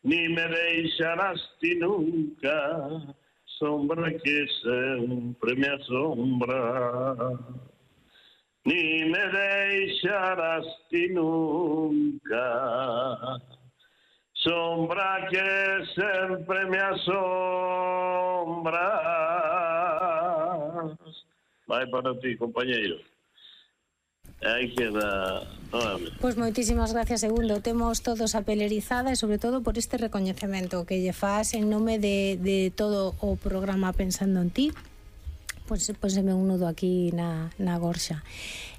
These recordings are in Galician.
ni me deixarás ti nunca, sombra que sempre me asombra. Ni me deixarás ti nunca, sombra que sempre me asombra. Vai para ti, compañeiro. Aí queda. Pois moitísimas gracias, Segundo. Temos todos a pele erizada e sobre todo por este recoñecemento que lle faz en nome de todo o programa Pensando en Ti. Pois pónseme un nudo aquí na gorxa.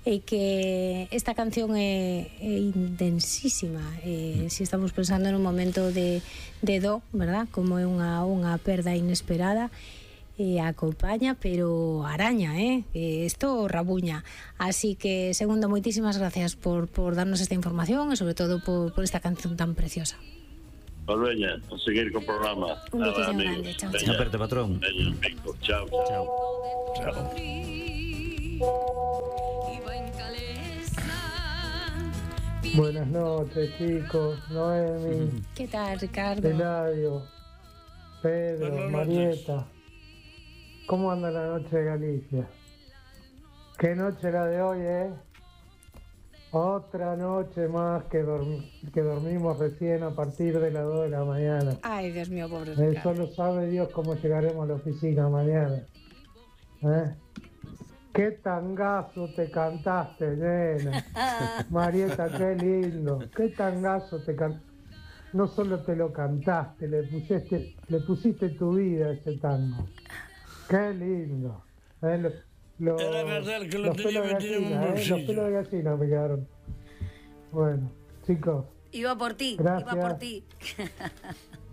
E que esta canción é intensísima. Se estamos pensando nun momento de do, verdad? Como é unha perda inesperada, acompaña, pero araña, isto rabuña. Así que, Segundo, moitísimas gracias por darnos esta información e sobre todo por esta canción tan preciosa. Pues veña, a seguir co programa. Un beso grande, chao. Chao, aperte, patrón. Veña, chao. Chao. Chao. Buenas noches, chicos. Noemi. ¿Qué tal, Ricardo? Eladio, Pedro, Marieta. ¿Cómo anda la noche de Galicia? ¿Qué noche la de hoy, Otra noche más que dormimos recién a partir de las 2 de la mañana. Ay, Dios mío, pobre Ricardo. Solo sabe Dios cómo llegaremos a la oficina mañana. Qué tangazo te cantaste, nena. Marieta, qué lindo. Qué tangazo te cantaste. No solo te lo cantaste, le pusiste tu vida a ese tango. Qué lindo. Era verdad que lo tenía metido en un bolsillo. Los pelos de gallina me quedaron. Bueno, chicos. Iba por ti, gracias. iba por ti.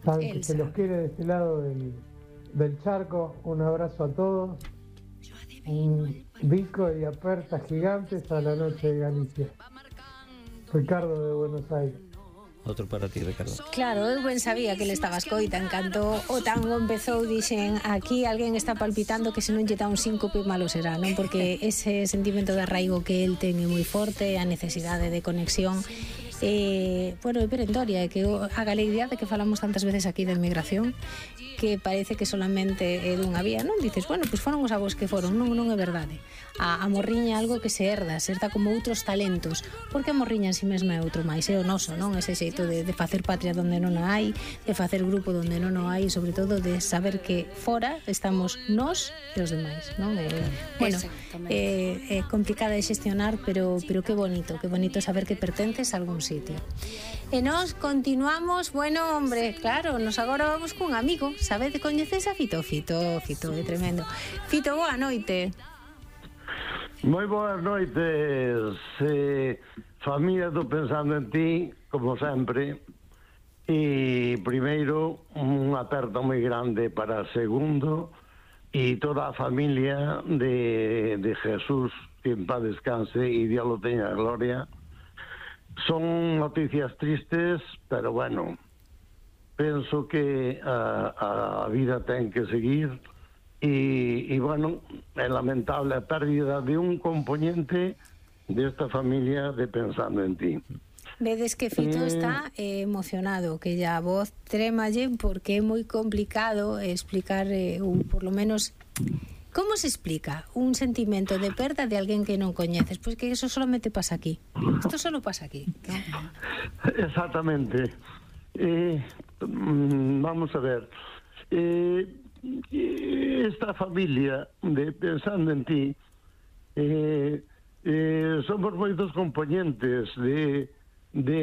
Saben que se los quiere de este lado del charco. Un abrazo a todos. Un bico y aperta gigantes a la noche de Galicia. Ricardo de Buenos Aires. Outro para ti, Ricardo. Claro, eu ben sabía que le estaba escoita. En canto o tango empezou, dixen, aquí alguén está palpitando que se non lle dá un síncope malo será, non? Porque ese sentimento de arraigo que el ten é moi forte, a necesidade de conexión. Bueno, é perentoria, que a galeguidade que falamos tantas veces aquí de inmigración, que parece que solamente é dunha vía, non? Dices, bueno, pois foron os avós que foron, non é verdade. A morriña é algo que se herda como outros talentos, porque a morriña en si mesma é outro máis, é o noso, non? Ese xeito de facer patria donde non a hai, de facer grupo donde non o hai, e sobre todo de saber que fora estamos nós e os demais, non? Bueno, é complicada de xestionar, pero que bonito saber que pertences a algún sitio. E nós continuamos, bueno, hombre, claro, nos agora vamos cun amigo, sabede, coñeces a Fito, é tremendo. Fito, boa noite. Moi boas noites, familia do Pensando en Ti, como sempre. E primeiro, un aperto moi grande para Segundo e toda a familia de Jesús, que en paz descanse e Dios lo teña gloria. Son noticias tristes, pero bueno, penso que a vida ten que seguir. Y bueno, é lamentable a pérdida de un componente desta familia de Pensando en Ti. Vedes que Fito está emocionado, que ya a voz trémalle, porque é moi complicado explicar, por lo menos, como se explica un sentimento de perda de alguén que non coñeces? Pois que eso solamente pasa aquí. Isto solo pasa aquí, ¿no? Exactamente. Vamos a ver. Esta familia de Pensando en Ti somos moitos componentes de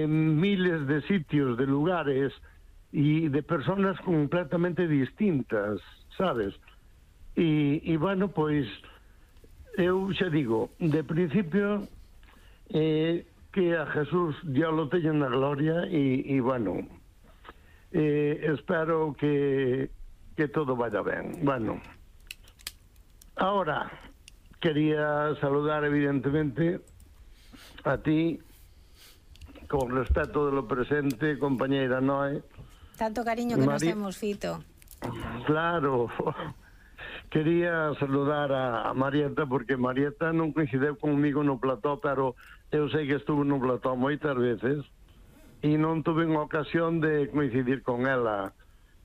miles de sitios, de lugares e de personas completamente distintas, sabes? E bueno, pois eu xa digo, de principio que a Jesús Dios lo teña na gloria e bueno, espero que todo vaya ben. Bueno, ahora quería saludar evidentemente a ti, con respeto de lo presente, compañeira Noé. Tanto cariño que nos temos, Fito. Claro. Quería saludar a Marieta, porque Marieta non coincideu conmigo no plató, pero eu sei que estuvo no plató moitas veces. e non tuve unha ocasión de coincidir con ela.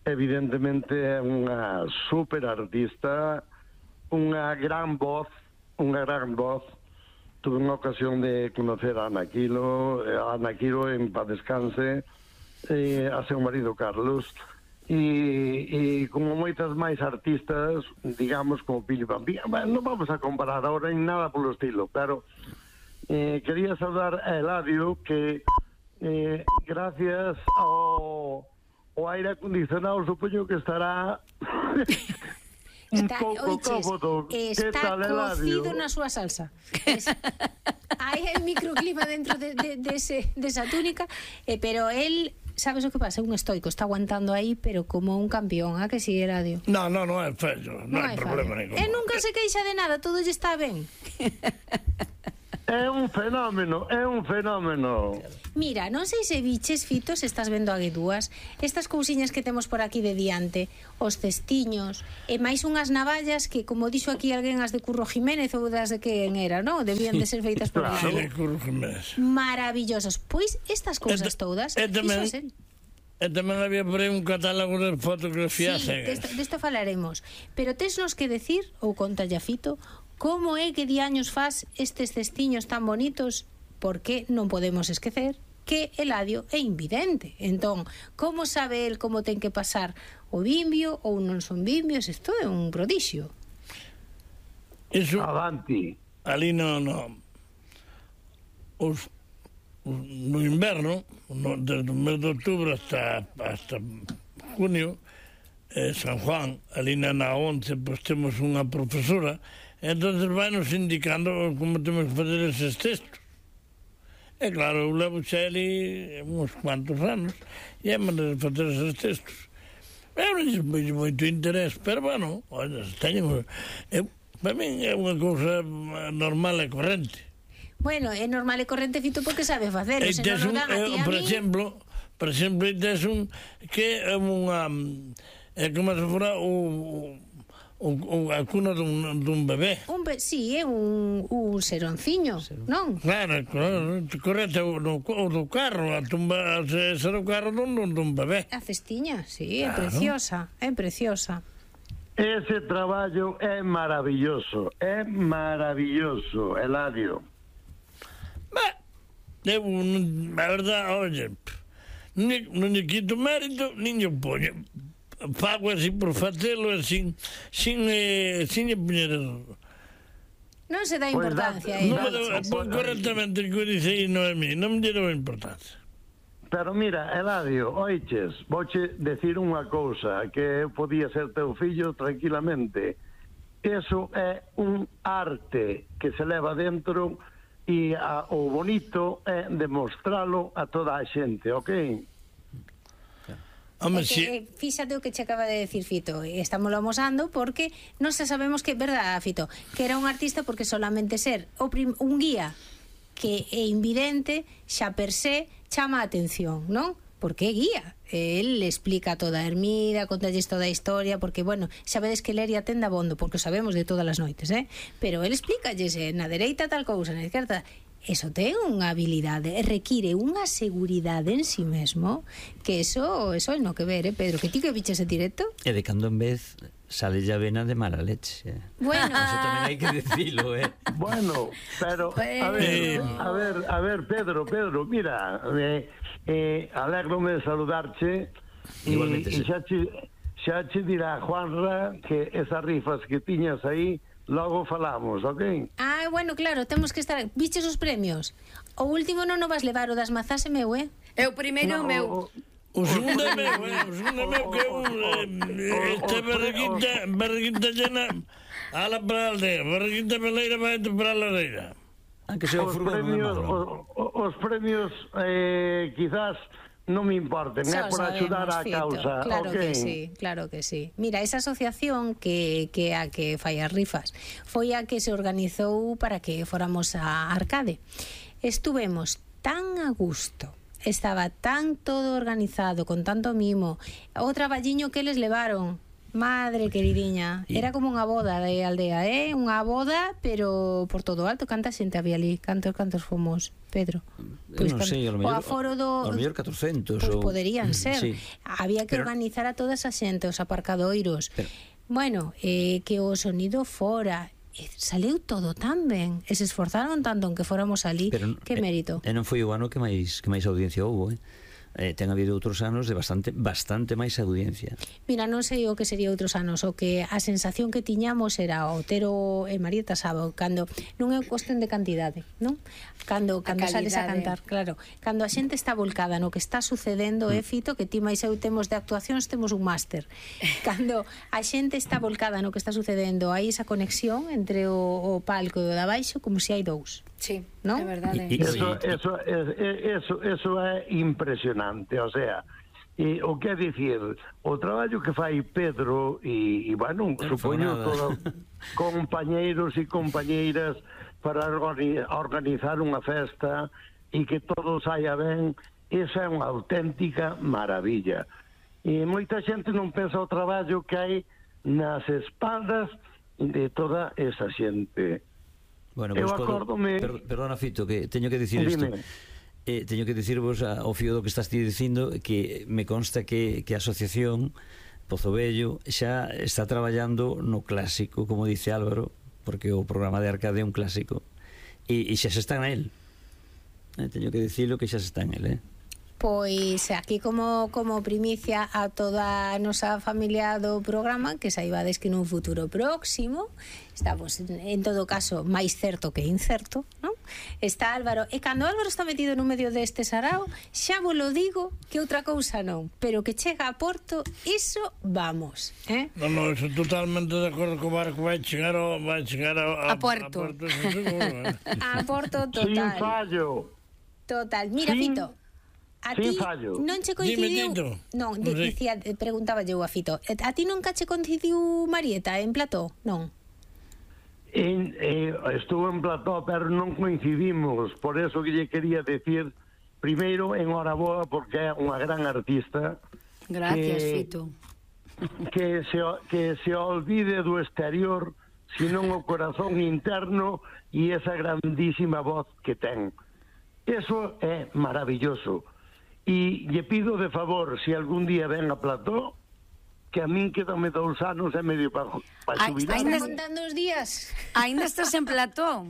Evidentemente é unha super artista, unha gran voz. Tuve unha ocasión de conocer a Ana Quilo en paz descanse, a seu marido Carlos, e como moitas máis artistas, digamos, como Pili Pampín. Non vamos a comparar ahora en nada polo estilo, pero quería saudar a Eladio, que gracias ao aire acondicionado supoño que estará un pouco cómodo. Está cocido na súa salsa. Hai microclima dentro desa túnica, pero él, sabes o que pasa? Un estoico, está aguantando aí, pero como un campeón, a que si, Eladio? No é fallo, non hai problema ningún. E nunca se queixa de nada, todo lle está ben. É un fenómeno. Mira, non sei se biches, Fito, se estás vendo a guedúas, estas cousiñas que temos por aquí de diante, os cestiños, e máis unhas navallas que, como dixo aquí alguén, as de Curro Jiménez ou das de quen era, non? Debían de ser feitas por Sí, Eladio. Curro Jiménez. Maravillosas. Pois estas cousas todas, E tamén había por aí un catálogo de fotografías. Sí, desto falaremos. Pero tesnos que decir, ou contalle a Fito, como é que diaños faz estes cestiños tan bonitos, porque non podemos esquecer que Eladio é invidente. Entón, como sabe el como ten que pasar o bimbio ou non son bimbios? Isto é un prodixio. Eso, Avanti. ali no inverno, desde o mes de outubro hasta junio, San Juan, ali na 11, pues temos unha profesora, entonces vai nos indicando como temos que fazer eses textos. E claro, eu levo xa ali uns cuantos anos e é maneira de fazer eses textos. Eu non lle moito interés, pero bueno, teño, para min é unha cousa normal e corrente. Bueno, é normal e corrente, Fito, porque sabe facelo, se non o dan a ti a por mí. Por exemplo, tes un que é unha como se fora a cuna dun bebé. Sí, é un seronciño, non? Claro, correcto, o do carro, a tumba, ser o carro dun bebé. A cestiña, sí, é preciosa, é preciosa. Ese traballo é maravilloso, Eladio. A verdad, oye, non lle quito mérito, nin lle poño. Fago así por facelo, sin lle poñer. Non se dá importancia a Non me dá, correctamente, que dice Noemí, non me dá importancia. Pero mira, Eladio, oiches, vouche decir unha cousa, que podía ser teu fillo tranquilamente. Eso é un arte que se leva dentro e o bonito é demostralo a toda a xente, ok? Fíxate o que che acaba de decir Fito, estámoslo amosando porque non se sabemos que, verdad, Fito, que era un artista porque solamente ser un guía que é invidente xa per se chama a atención, non? Porque é guía, el explica toda a Ermida, contalles toda a historia, porque, bueno, sabedes que Leria ten dabondo, porque o sabemos de todas as noites, pero el explícalles na dereita tal cousa, na esquerda. Eso ten unha habilidade, require unha seguridade en si mesmo, que eso é no que ver, Pedro, que ti que biches en directo. E de cando en vez sale ya vena de mala leche. Bueno, eso tamén hai que decirlo, Bueno, pero a ver, Pedro, mira, alégrome de saludarche e xa che dirá Juanra que esas rifas que tiñas aí logo falamos, ok? Bueno, claro, temos que estar. Viches os premios? O último non o vas levar, o das mazás é meu, É o primeiro meu. O segundo é meu, que esta barriguita llena ala para a aldea, barriguita peleira vai para a lareira. Que sea o furgón de Madro. Os premios quizás non me importen, é por axudar a causa. Claro que sí. Mira, esa asociación que a que fai as rifas foi a que se organizou para que fóramos a Arcade. Estuvemos tan a gusto, estaba tan todo organizado, con tanto mimo, o traballiño que eles levaron, Madre queridiña, era como unha boda de aldea, unha boda, pero por todo alto. Canta xente había ali? Cantos fomos, Pedro? Eu non sei, ao mellor, aforo do... ao mellor 400 Pois ou... poderían ser. Sí. Había que organizar a toda esa xente, os aparcadoiros. Bueno, que o sonido fora... Saleu todo tan ben e se esforzaron tanto en que fóramos ali. Que mérito. E non foi o ano que máis audiencia houbo, ten habido outros anos de bastante máis audiencia. Mira, non sei o que sería outros anos, o que a sensación que tiñamos era Otero e Marieta Sabo, cando non é cuestión de cantidade, non? Cando sales a cantar, claro, cando a xente está volcada no que está sucedendo, Fito, que ti máis eu temos de actuacións, temos un máster. Cando a xente está volcada no que está sucedendo, hai esa conexión entre o palco e o de abaixo como se hai dous. Sí, ¿no? é verdade. Eso é impresionante, o sea, o que é dicir, o traballo que fai Pedro e bueno, supoño todos compañeiros e compañeiras para organizar unha festa e que todo saia ben, esa é unha auténtica maravilla. E moita xente non pensa o traballo que hai nas espaldas de toda esa xente. Bueno, pues perdona, Fito, que teño que dicir isto. Teño que dicirvos ao fío do que estás ti dicindo que me consta que a asociación Pozo Vello xa está traballando no clásico, como dice Álvaro, porque o programa de Arcade é un clásico e xa se está en él. Teño que dicirlo que xa se está en él, Pois aquí como primicia a toda a nosa familia do programa, que saibades que nun futuro próximo estamos, en todo caso, máis certo que incerto, non? Está Álvaro, e cando Álvaro está metido no medio deste sarao, xa vos lo digo que outra cousa non, pero que chega a Porto, iso vamos, Non, eso totalmente de acordo co barco vai chegar a Porto. A Porto total. Sin fallo. Total. Mira, Fito, a ti non che coincidiu... Non, preguntaba eu a Fito. A ti nunca che coincidiu Marieta en plató? Non. Estuvo en plató, pero non coincidimos. Por eso que lle quería decir, primeiro, enhoraboa, porque é unha gran artista. Gracias, Fito. Que se olvide do exterior, sino o corazón interno e esa grandísima voz que ten. Eso é maravilloso. E lle pido de favor, se algún día ven a plató, que a min quedame 2 anos e medio para xubilar. Ainda contando os días. Ainda estás en plató?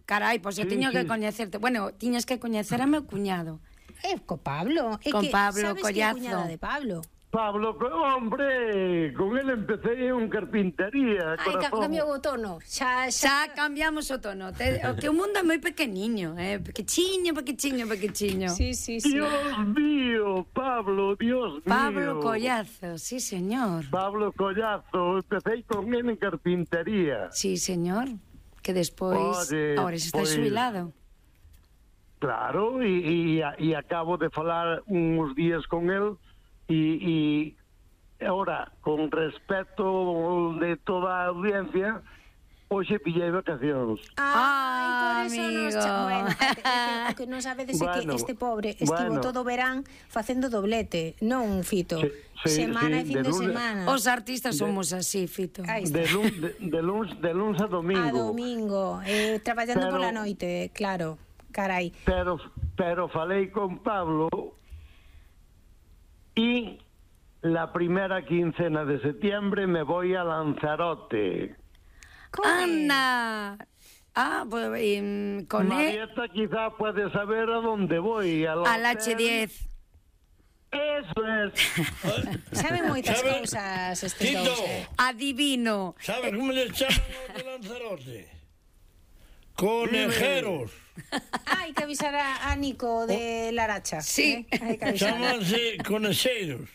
Carai, pois eu teño que coñecerte. Bueno, tiñas que coñecer a meu cuñado. Co Pablo. Con Pablo Collazo. Sabes que é cuñada de Pablo? Pablo, hombre, con él empecé en carpintería. Cambiou o tono. Xa cambiamos o tono. Que o mundo é moi pequeniño, pequechiño. Sí. Dios mío, Pablo, Dios mío. Pablo Collazo, sí, señor. Pablo Collazo, empecé con él en carpintería. Sí, señor. Que despois, ahora está xubilado. Claro, e acabo de falar uns días con él. Y ahora, con respeto de toda a audiencia, hoxe pillei vacacións. Por eso bueno, o que non sabedes é que este pobre estivo todo verán facendo doblete, non, Fito? Semana e fin de semana. Os artistas somos así, Fito. De luns a domingo. A domingo, traballando pola noite, claro, carai. Pero falei con Pablo. Y la primera quincena de septiembre me voy a Lanzarote. ¡Anda! Pues con Marieta quizá puede saber a dónde voy. Al H10. Eso es. Sabe moitas cousas estes dous. Adivino. Sabes como le chaman de Lanzarote? Conejeros. Hai que avisar a Nico de Laracha. Sí. Chámanse conexeiros.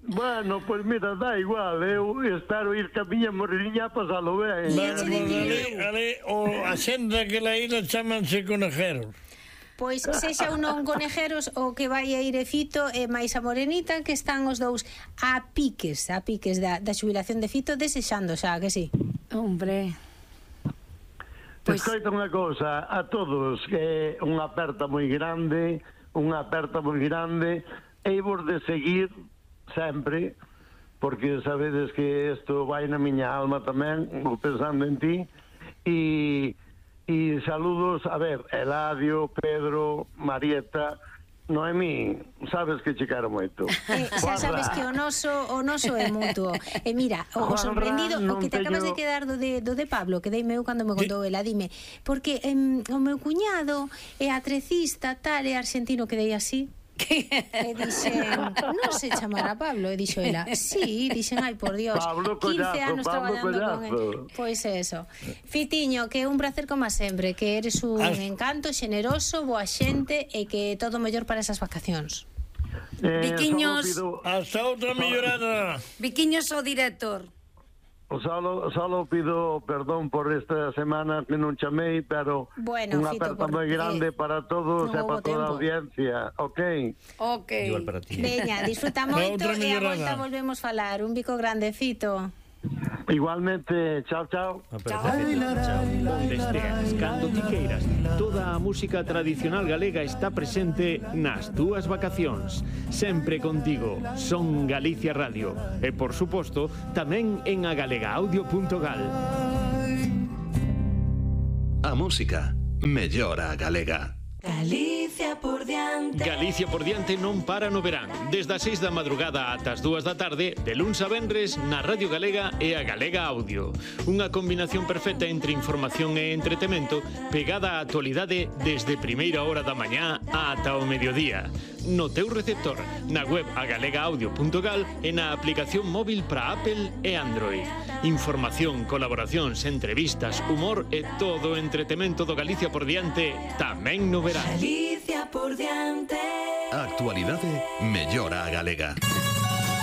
Bueno, pues mira, da igual. Eu espero ir ca miña morriña a pasalo ben. Ali, a xente daquela isla chámanse conejeros. Pois sexa un non conejeros o que vai a ir Fito e máis a Morenita, que están os dous a piques da xubilación de Fito, desexando xa, que sí? Hombre... Escoita unha cousa a todos, que é unha aperta moi grande, e vos de seguir sempre, porque sabedes que isto vai na miña alma tamén, pensando en ti, e saludos, a ver, Eladio, Pedro, Marieta, Noemí, sabes que che quero moito. Xa sabes que o noso é mutuo. E mira, o sorprendido, o que te acabas de quedar do de Pablo, que deime eu cando me contou ela, dime, porque o meu cuñado é atrecista, tal, é argentino, que dei así. E dixen, non se chamará Pablo, e dixo ela, sí, dixen, ai, por Dios, Pablo 15 anos Pablo traballando con él. Pois eso. Fitiño, que é un placer como sempre, que eres un encanto, xeneroso, boa xente e que todo mellor para esas vacacións. Viquiños, hasta outra millorada. Viquiños o director. Solo pido perdón por esta semana que non chamei, pero unha aperta moi grande para todos e para toda a audiencia, ok? Igual para ti. Veña, disfruta moito e a volta volvemos falar. Un bico grande, Fito. Igualmente, chao, chao. Onde esteas, cando ti queiras, toda a música tradicional galega está presente nas túas vacacións. Sempre contigo, Son Galicia Radio. E, por suposto, tamén en agalegaudio.gal. A música mellora a galega. Galicia por diante. Galicia por diante non para no verán. Desde as 6 da madrugada ata as 2 da tarde, de luns a venres, na Radio Galega e a Galega Audio. Unha combinación perfecta entre información e entretemento, pegada á actualidade desde primeira hora da mañá ata o mediodía. No teu receptor, na web agalegaudio.gal e na aplicación móvil para Apple e Android. Información, colaboracións, entrevistas, humor e todo o entretemento do Galicia por diante tamén no verán. Galicia por diante. A actualidade mellora a galega.